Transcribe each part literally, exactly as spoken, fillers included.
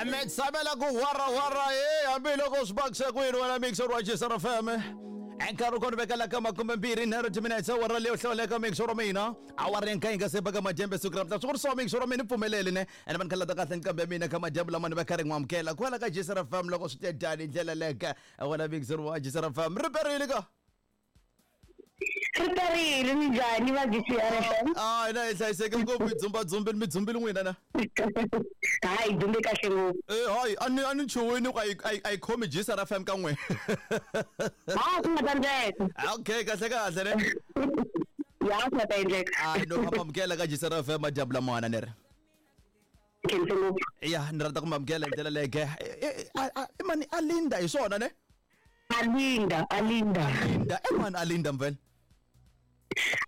Ametshamela ku wara wara eh hambiloko swi bakisa kwini wena mixer wa G S R F M. Nkarhi kona vekela ka makume mbirhi nharhu timinetse awara leyo hlawuleka mixer wa mina. Awara ya nkaye nga se baka madyambu siku ra mutla. Swi so mixer wa mina pfumeleli ne. Ene vanhu khala ta kahle nkambe mina ka madyambu lama ni va karhi n'wamukela. Kwala ka G S R F M loko swi te dani ndlela leka wena mixer wa G S R F M. Riperile ka. Riperile minjhani va G S R F M? Ah, ina hi hlayiseke ngopfu hi dzumba dzumbile mi dzumbile n'wina na. Hayi dzumbe kahle ngopfu. Eh hayi a ni a ni chuwini ku a yi a yi khomi G S R F M ka n'we. Ha ku nga ta endleka. Okay kahle kahle ne. Ya ku nga ta endleka. Ah no amukela ka G S R F M madyambu lamana ne ri. Khense ngopfu. Ya ni rhandza ku mamukela hi ndlela leke. I mani Alinda hi swona ne? Alinda, Alinda. Alinda, e mani Alinda mvele.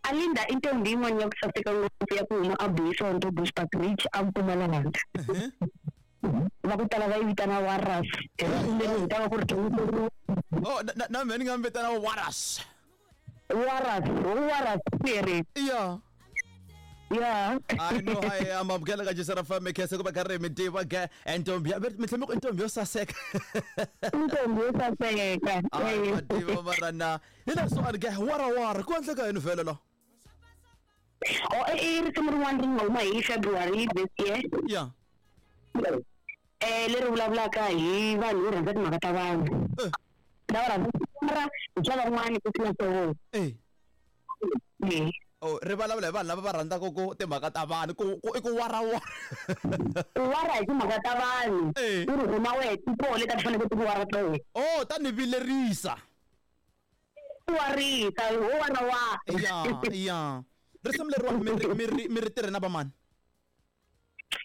Alinda i ntombi yin'wana ya ku saseka ngopfu ya ku huma a Buisonto Bushbuckridge a Mpumalanga. Va ku tala va yi vitana Waras. Leri hi ta va ku ri Oh, na na mina ni nga mi vitana Waras. Waras, Waras ku Yeah. Yeah. I know I am amukela ka G S R F M khense ku va karhi mi tiva ke ntombi ya mi tlhela mi ku i ntombi yo saseka. Ntombi yo saseka. Ai ma tiva mara na hi leswo a ni ke wara wara ku endleka yini vhele la? Oh, i risimu rin'wana ri nga huma hi February this year. Yeah. Eh leri vulavulaka hi vanhu vo rhandza timhaka ta vanhu. Lava rhandza mara hi swa van'wani ku tlula swa vona. Eh. Eh. Oh, ri vulavula hi vanhu lava va rhandzaka ku timhaka ta vanhu ku ku i ku wara wara. Ku wara hi timhaka ta vanhu. Eh. U ri huma wehe ti koho leti a ti fanele ti ku wara toho. Oh, ta ni vilerisa. Ku warisa, ho wara wa. Ya, ya. Risimu leriwani mi ri mi ri mi ri tirhe na vamani?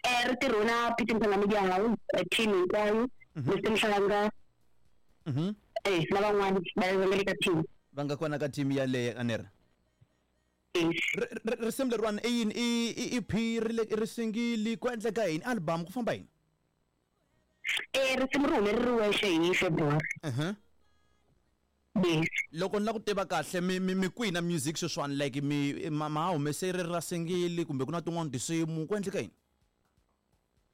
Eh ri tirhe na Peter Mhlanga Media House, team hinkwayo, Mister Mhlanga. Mhm. Eh na van'wani va nga le ka team. Va nga kona ka team yaleyo a ni ri. Yes. Risimu leriwani i yini i E P ri le ri singili ku endleka yini album ku famba yini? Eh risimu ri hume ri ri wexe hi February. Mhm. Yes. Loko ni la ku tiva kahle mi mi mi kwihi na music sweswiwani like mi ma ma humese ri ra singili kumbe ku na tin'wani tinsimu ku endleka yini?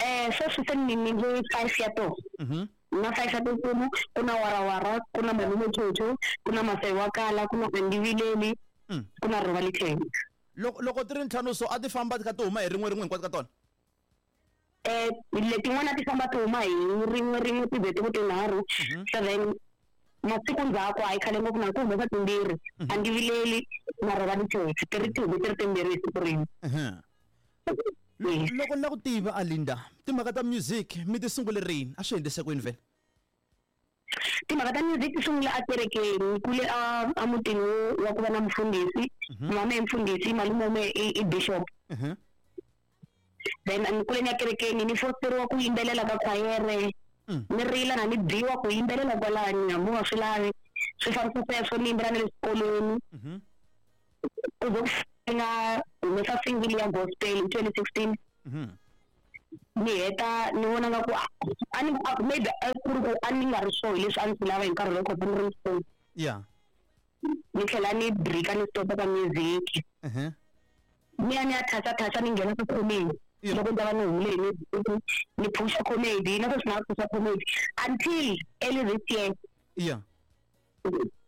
Eh sweswi se ni ni ni five ya toho. Mhm. Na five ya tinsimu ku na wara wara ku na Malume Chocho ku na Masai wa Kala ku na Andivileli Mm. ku na Rova Lithenge. Loko loko ti ri ntlhanu so a ti famba ti kha ti huma hi rin'we rin'we hinkwato ka tona? Eh letin'wana ti famba ti huma hi rin'we rin'we ti ze ti ku tinharhu. So then masiku ndzhaku a yi khale ngopfu na ku humesa timbirhi. Andivileli na Rova Lithenge ti ri ti hume ti ri timbirhi hi siku rin'we. Mhm. Loko ni la ku tiva Alinda timhaka ta music mi ti sungule rini a swi endlise kwini vhele? Timhaka ta music ti sungule a kerekeni kule a a mutini wa ku va na mufundhisi. Mama i mufundhisi malume wa mehe i i bishop. Mhm. Then ni kule ni ya kerekeni ni fosteriwa ku yimbelela ka khwayere. Ni rila na ni biwa ku yimbelela kwalani hambi u nga swi lavi. Swi fambisa sweswo ni yimbelela na le swikolweni. Mhm. Ku ze ku nga humesa single ya gospel hi twenty sixteen. Mhm. Ni heta ni vona nga ku a ni maybe a ku ri ku a ni nga ri sure hi leswi a ni swi lava hi nkarhi lowu kota ni ri ntsongo. Yeah. Ni tlhela ni break-a ni stop-a ka music. Mhm. Ni ya ni ya thasa thasa ni nghena ka comedy. Yeah. Loko ni ta va ni humile hi music ni phusha comedy na sweswi na phusha comedy until early this year. Yeah.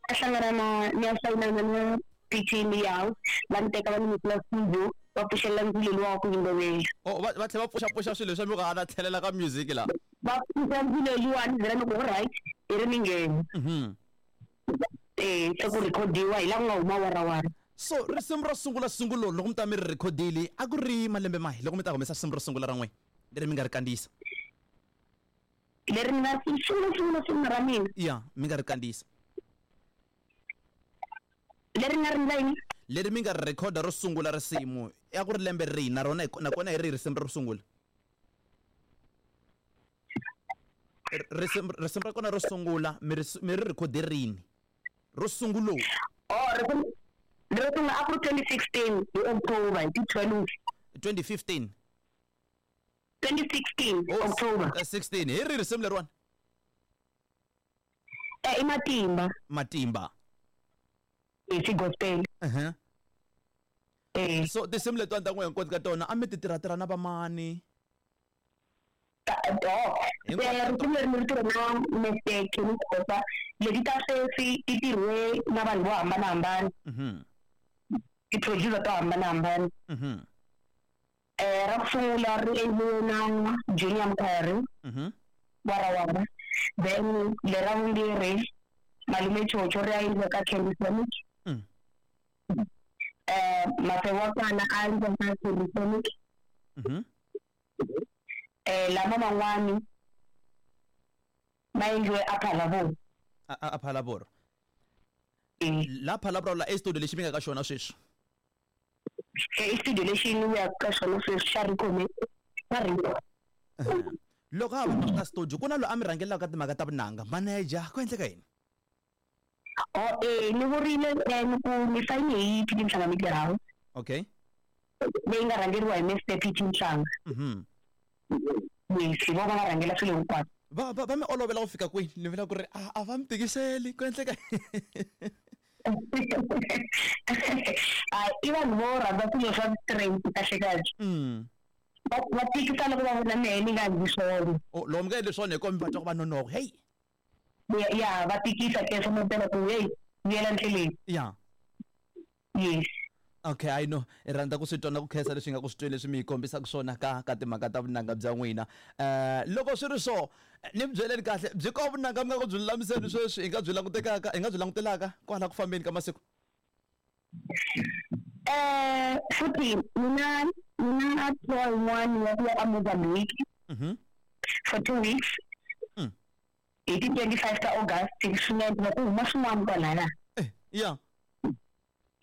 A hlangana na ni ya sayinana na P T Media House va ni teka va ni nyikela studio va pfuxelela ndzilo luwa wa ku yimbelela. Oh va va tlhela va pfuxa pfuxa swilo leswi mi ku a na tlhelela ka music la. Va pfuxa ndzilo luwa ni byela ni ku alright hi ri ni nghena. Mhm. Eh se ku recordiwa hi la ku nga huma wara wara. So risimu ro sungula sungulo loko mi ta mi ri recordile a ku ri malembe mahi loko mi ta humesa risimu ro sungula ra n'we leri mi nga ri kandziyisa? Leri mi nga sungula sungula sungula ra mina. Yeah, mi nga ri kandziyisa. Leri nga ri ndla yini? Leri mi nga ri recorda ro sungula risimu ya ku ri lembe rihi na rona nakona hi rihi risimu ro sungula? Risimu risimu ra kona ro sungula mi ri mi ri record rini? Ro sungulo. Oh, risimu ro sungula a ku ri twenty sixteen hi October hi ti twelve. twenty fifteen. twenty sixteen October. sixteen hi rihi risimu leriwani? Eh i Matimba. Matimba. Hi gospel. Uh-huh. Eh So tinsimu letiwani ta n'we hinkwato ka tona a mi ti tirha tirha na vamani? Risimu leri ni ri tirhe na Mister Kenny Khosa. Leti ta sweswi ti tirhiwe na vanhu vo hambanahambana, ti-producer to hambanahambana. Ra ku sungula ri endliwe na Junior Mkhari warawara, then lera vumbirhi Malume Chocho ri ya endliwa ka Candy Sonic. Eh Masebo wa kona a endliwa ka Candy Sonic. Eh lama man'wani ma endliwe a Phalaborwa. A Phalaborwa. La Phalaborwa la e studio lexi mi nga ka xona sweswi? E studio lexi ni ya ka xona sweswi xa Rico xa Rico. Loko ha va ka studio ku na loyi a mi rhangelaka ka timhaka ta vunanga, manager, ku endleka yini? Oh eh ni vurile ni ku ni sayine hi P T Mhlanga Media House. Okay. Leyi nga rhangeriwa hi Mister P T Mhlanga. Mhm. Yes, hi vona va rhangela swilo hinkwaswo. Va va va mi olovela ku fika kwihi? Ni vula ku ri a a va mi tikiseli ku endleka. A i vanhu vo rhandza swilo swa straight kahle kahle. Mm. Va tikisa loko va vona mehe ni nga endli swona. Oh, loko mi nga endli swona hi kombi va twa ku va nonoka. Hey. Ya, va tikisa ke swa mampela ku hey, vuyela ndleleni. Ya. Yes. Okay, I know. I rhandza ku swi twa na ku khensa leswi nga ku swi tweni leswi mi hi kombisaka swona ka ka timhaka ta vunanga bya n'wina. Eh loko swi ri so, ni mi byeleni kahle, byi ko vunanga mi nga ku byi lulamiseni sweswi hi nga byi langutekaka, hi nga byi langutelaka kwala ku fambeni ka masiku? Eh futhi mina mina tour yin'wana ya ku ya Mozambique. Mhm. For two weeks. Mm. Hi ti twenty-five ta August swinene ku huma swin'wana kwalaya. Eh, ya.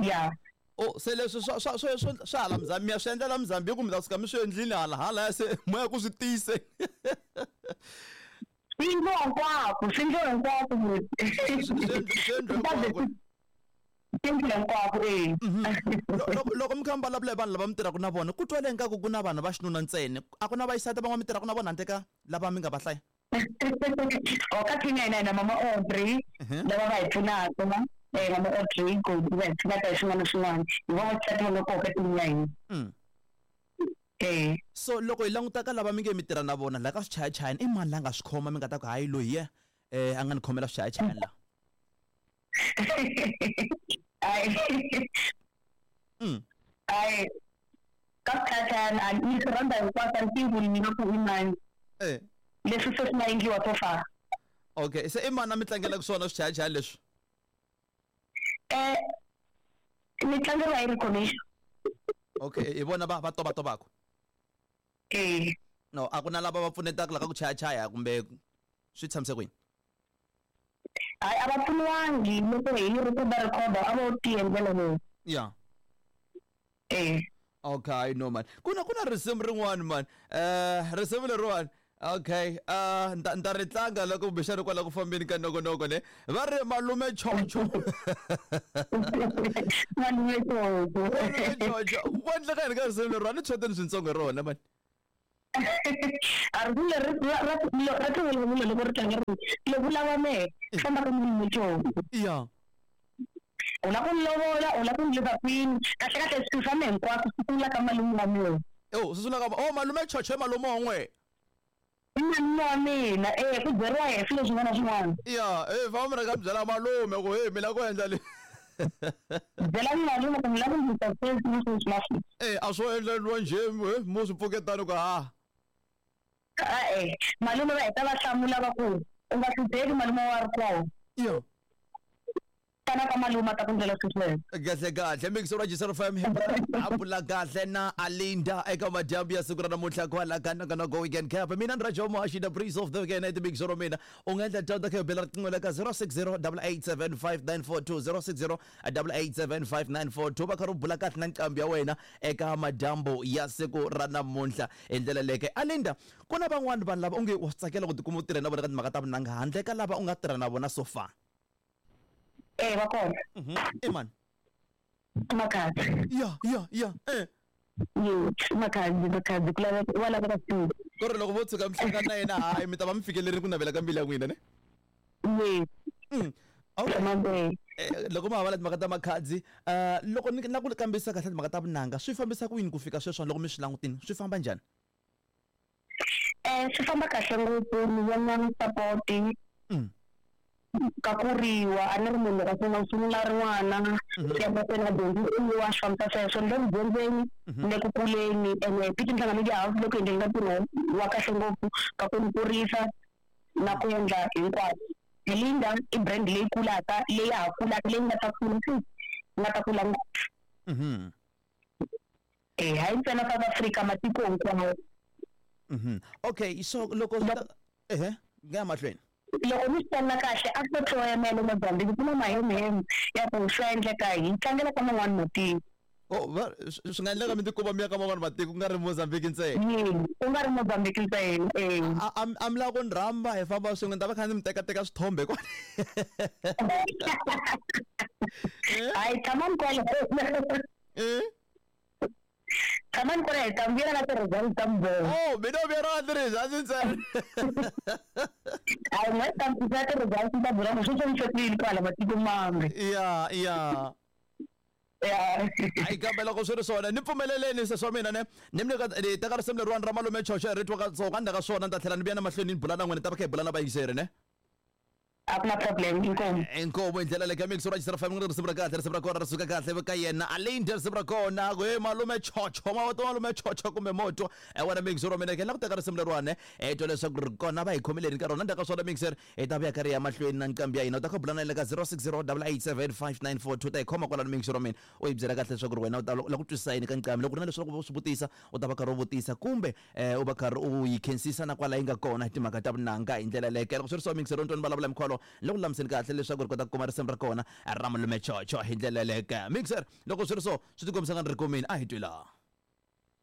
Ya. Oh, se leswi swa swa swa swa hala Mozambique, mi ya swi endlela Mozambique kumbe ta suka mi swi endlile hala hala ya se moya ku swi tiyise. Swi endliwa hinkwako, swi endliwa hinkwako. Swi endliwa hinkwako. Swi endliwa hinkwako, eh. Loko loko mi kha mi vulavula hi vanhu lava mi tirhaka na vona, ku twale ingaku ku na vanhu va xinuna ntsena. A ku na vaxisati van'wana mi tirhaka na vona handle ka lava mi nga va hlaya? Oh, ka team ya hina hi na Mama Audrey, lava va hi pfunaka. Eh Mama Audrey go va hi pfunaka hi swin'wana na swin'wana. Hi vona vaxisati va nga kona ka team ya hina. Mm. Eh. So loko hi languta ka lava mi nge mi tirha na vona la ka swichayachayani, i mani la nga swi khoma mi nga ta ku hayi loyi ye eh a nga ni khomela swichayachayani la? Ai. Mm. Ai. Ka swichayachayani a ni swi rhandza hinkwaswo, a ni tivi ku ni nga ku i mani. Eh. Leswi se swi nga endliwa so far. Okay, se i mani a mi tlangelaka swona swichayachayani leswi? Eh ni tlangeriwa hi Rico. Okay, hi vona va va tovatovaka? Eh. No, a ku na lava va pfunetaka la ka ku chayachaya kumbe swi tshamise kwini? Hayi, a va pfuniwangi loko hi ri ku va record a vo ti endlela vona. Ya. Eh. Okay, no man. Ku na ku na risimu rin'wana man. Eh risimu leriwani. Okay, uh nta nta ri tlanga loko kumbexana kwala ku fambeni ka nongonoko ne. Va ri Malume Chocho. Malume Chocho. Malume Chocho. Ku endleka yini ka risimu leriwani? Ni tshweteni swintsongo hi rona man. A risimu leri ra ra ra tivulavula loko ri tlanga ri loko u lava mehe famba ka Malume Chocho. Ya. U lava ku ni lovola, u lava ku ni leva kwini, kahle kahle swilo swa mehe hinkwaswo swi sungula ka malume wa mina. Oh, swi sungula ka oh Malume Chocho i malume wa n'we. I malume wa mina, eh ku byeriwa yena swilo swin'wana na swin'wana. Ya, eh fa mi rhanga mi byela malume ku hey mi lava ku endla le. Byela malume ku mi lava ku ndzi sweswi na sweswi na sweswi. Eh a swo endleriwa njhe eh mo swi pfuketana ku ha. E-e, malume va heta va hlamula va ku u nga hlupheki malume wa ri kona. Ya. Tana ka malume a ta ku ndlela sweswo. Kahle kahle mixo ra G F M a bula kahle na Alinda eka madyambu ya siku ra namuntlha kwala ka Nongonoko Weekend Cap. Mina ni Rajo Mohashi, the breeze of the weekend at mixo ra mina. U nga endla dyondzo kha bela riqingho la ka zero six zero double eight seven five nine four two, zero six zero double eight seven five nine four two. Va kha ri bula kahle na nqambi ya wena eka madyambu ya siku ra namuntlha hi ndlela leke. Alinda, ku na van'wana vanhu lava u nge wa swi tsakela ku tikuma u tirha na vona ka timhaka ta vunanga handle ka lava u nga tirha na vona so far? Eh va kona. Mhm. I mani? Makhadzi. Ya, ya, ya. Eh. Yes, Makhadzi, Makhadzi ku laveka wa laveka studio. Ku ri loko vo tshuka mi hlangana na yena hayi mi ta va mi fikelerile ku navela ka mbilu ya n'wina ne? Yes. Mm. Okay. Mambe. Eh, loko ma ha timhaka ta Makhadzi, eh loko ni na ku kambisisa kahle timhaka ta vunanga, swi fambisa ku yini ku fika sweswi loko mi swi langutini? Swi famba njhani? Eh swi famba kahle ngopfu ni vona support Mm. ka kuriwa a ni ri munhu loko a sungula sungula ri n'wana ya mahlweni a dyondzisiwa swi fambisa sweswo ni le ku dyondzeni ni le ku kuleni ene Piet Nhlanga Media House loko endleni ka ntirho wa kahle ngopfu ka ku ni kurisa na ku endla hinkwaswo Linda i brand leyi kulaka leyi ya ha kulaka leyi nga ta kula futhi nga ta kula ngopfu Mhm. eh hayi ntsena South Africa matiko hinkwawo Mhm. Okay, so loko swi ta ehe, nga mahlweni. Loko mi swi twana kahle a ku tloyemele Mozambique ku na mahemheme ya ku swi endleka hi tlangela ka man'wani matiko. Oh, va swi swi nga endleka mi tikuma mi ya ka man'wani matiko ku nga ri Mozambique ntsena. Yini ku nga ri Mozambique ntsena eh A a a mi lava ku ni rhamba hi famba swin'we ni ta va kha ni mi tekateka swithombe kwale. Hayi tshamani kwale Eh? tshamani kwale hi ta vuyela na ti-results ta mubolo. Oh, mina u vuya na ti-results ntsena. Hayi n'we ta mi ti-results ta bula ku swi fambise kwala matiko mambe. Ya, ya. Ya. Hayi kambe loko swi ri swona ni pfumeleleni se swa mina ne ni mi nyika ni teka risimu leriwani ra malume Chocho hi ri twa ka so ka ndzhaku ka swona ni ta tlhela ni vuya na mahlweni ni bula na n'wina ni ta va kha hi bula na vayingiseri ne. A ku na problem inkomu. Inkomu hi ndlela leyi ka mix ra Xisera F M risimu ra kahle risimu ra kona ri suka kahle ka yena Alinda risimu ra kona ku he malume Chocho ma wa malume Chocho kumbe moto e wena mix ra mina ke la ku teka risimu leriwani e twa leswaku ri kona va hi khomeleni ka rona ndzhaku ka swona mixer hi ta vuya ka ri ya mahlweni na nqambi ya hina u ta kha bula na yena ka zero six zero double eight seven five nine four two ta hi khoma kwalano mix ra mina u hi byela kahle leswaku ri wena u ta la ku twisisa yini ka nqambi loko ku ri na leswaku u swi vutisa u ta va karhi u vutisa kumbe eh, u va karhi u yi khensisa na kwala yi nga kona hi timhaka ta vunanga hi ndlela leyo loko swi ri so mixer ntwa ni vulavula mikholo loko lulamiseni kahle leswaku ri kota ku kuma risimu ra kona ra malume Chocho hi ndlela yeleyo mixer loko swi ri so swi tikombisa nga ni ri kumini a hi twi laha.